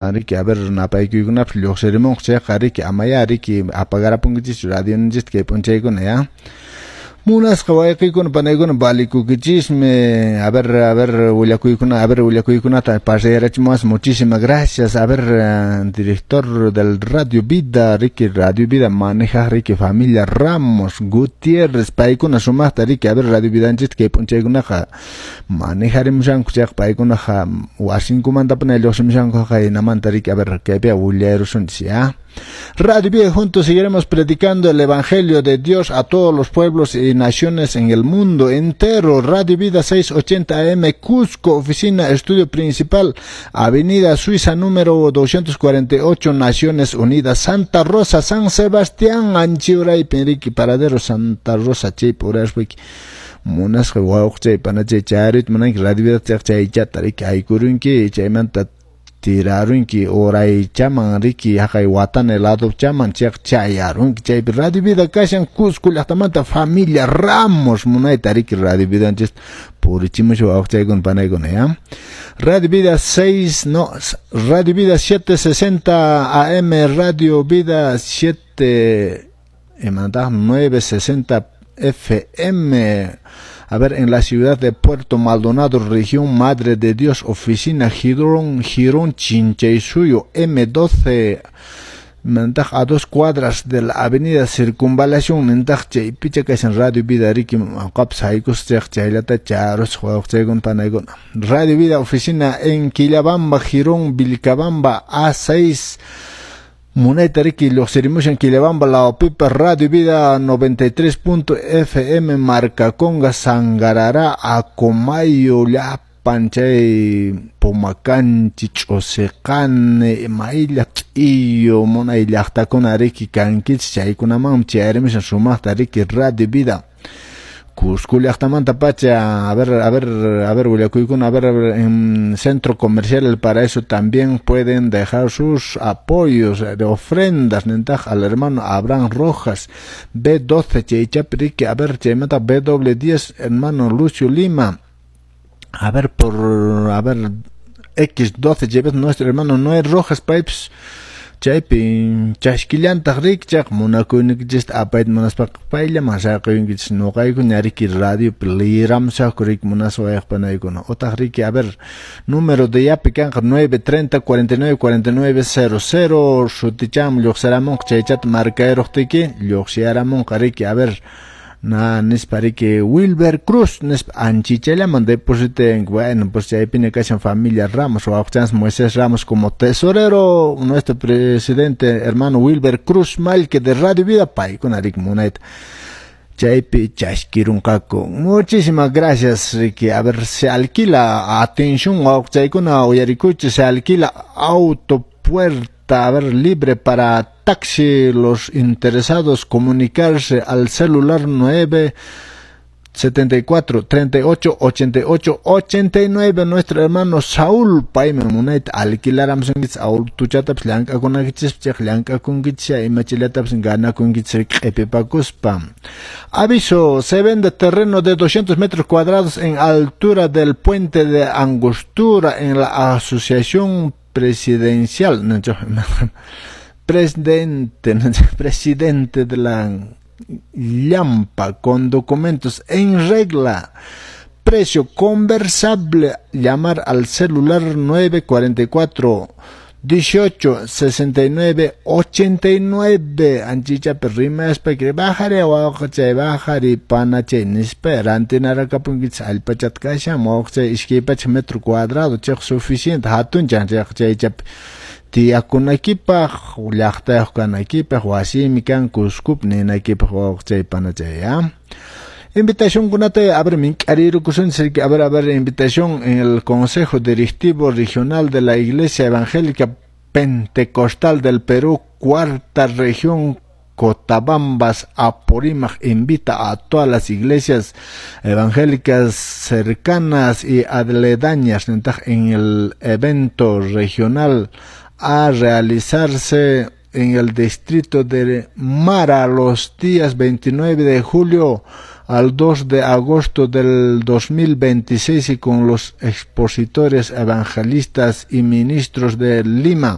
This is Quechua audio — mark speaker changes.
Speaker 1: Riki, a ver, napaykuykunapas lluqsirimunqa chayqa, riki, amaya, riki, apagarapunkichischu radionchista kay p'unchaykuna, ya. Munasqa wayqiykuna panaykuna valikukichismi. A ver, a ver, willakuykuna, a ver, willakuykunata pasayarachimuwas. Muchísimas gracias. A ver, director del Radio Vida, riki, Radio Vida maneja, riki, familia Ramos Gutiérrez, paykuna sumaqta, riki, a ver, Radio Vidanchista kay p'unchaykunaqa manejarimushanku chayqa, paykunaqa wasinkumantapuni lluqsimushanku qaynamanta, riki, a ver, kaypi willayrusunchis, ya. Radio Vida, juntos seguiremos predicando el Evangelio de Dios a todos los pueblos y naciones en el mundo entero. Radio Vida 680 AM, Cusco, oficina, estudio principal, Avenida Suiza número 248, Naciones Unidas, Santa Rosa, San Sebastián, Anchiuray, Penrique, Paradero, Santa Rosa, chaypi uraswiki munasqa wawqchay panachay chayrita munanki Radio Vida chaychata, riki, aykurunki, chaymanta tirarunki uraychaman, riki, haqay watana ladochaman chayqa chayarunki. Chaypi Radio Vida kashan Cusco llaqtamanta, familia Ramos munayta, riki, Radio Vidanchista purichimusha, wawqchaykuna panaykuna, ya. Radio Vida 6, no, Radio Vida 760 AM, Radio Vida 7 960 FM. A ver, en la ciudad de Puerto Maldonado, región Madre de Dios, oficina Girón, Girón Chinchaysuyo, M12, a 2 cuadras de la avenida Circunvalación, nintaq chaypicha kashan Radio Vida, riki, qapas haykus chayqa chaylata charus, wawqchaykuna panaykuna. Radio Vida, oficina en Quillabamba, Girón Vilcabamba, A6, munayta, riki, lluqsirimushan Quillabamba lawpipa. Radio Vida 93 FM, Marcaconga, Sangarará, Acomayo, llapan chay Pomacanchi, Ch'usiqani, maylla T'iyu munay llaqtakuna, riki, kankichis, chaykunamanmi chayarimushan sumaqta, riki, Radio Vida Cusco llaqtamanta pacha. A ver, a ver, a ver, willakuykuna, a ver, en Centro Comercial El Paraíso también pueden dejar sus apoyos de ofrendas, nintaq al hermano Abraham Rojas, B12, chaychapi, riki, a ver, chaymanta B10, hermano Lucio Lima, a ver, por, a ver, X12, chaypi nuestro hermano Noé Rojas, paypis chaypi chaskillantaq, riki, chayqa munakuynikichista apayta munaspaqa payllaman saqiyunkichis, ñuqayku ña, riki, radiopi liyiramusaqku, riki, munaswayaq panaykuna utaq, riki, a ver, número de yapi kanqa 930 49 49 00, suticham lluqsiramunqa, chaychata markayruqtiki lluqsiyaramunqa, riki, a ver, na nispa, riki, Wilber Cruz nispa anchichallaman depositen. Bueno, pues chaypiña kashan familia Ramos, wawqchans Moisés Ramos como tesorero, nuestro presidente hermano Wilber Cruz Malque de Radio Vida, paykuna, riki, munayta chaypi chaskirunqaku. Muchísimas gracias, riki. A ver, se alquila, atención, wawqchaykuna, uyarikuchi, se alquila auto puerta, a ver, libre para taxi. Los interesados comunicarse al celular 9 74 38 88 89, nuestro hermano Saúl, paymi munayta alquilaramusunkichis autuchatapis llank'akunaykichis chayqa llank'akunkichis imachallatapis ganakunkichis q'ipipakuspa. Aviso: se vende terreno de 200 metros cuadrados en altura del puente de Angostura, en la asociación presidencial, presidente de la Lampa, con documentos en regla. Precio conversable. Llamar al celular 944 18 69 89. Anchichapi rimaspa bajari wawqachay, bajari panachay nispa rantinarakapunkichis, allpachata kashan, wawqachay, 200 metro cuadrado chayqa suficiente hatunchan chayqa chaychapi tiyakunaykipaq, llaqtayuq kanaykipaq, wasimi kan Cuscopi ninaykipaq, wawqachay panachay, ya. Invitación kunata, a ver, mink'arirukusunchis, a ver, a ver, invitación en el Consejo Directivo Regional de la Iglesia Evangélica Pentecostal del Perú, cuarta región, Cotabambas, Apurímac, invita a todas las iglesias evangélicas cercanas y aledañas en el evento regional a realizarse en el distrito de Mara los días 29 de julio. al 2 de agosto del 2026 y con los expositores, evangelistas y ministros de Lima.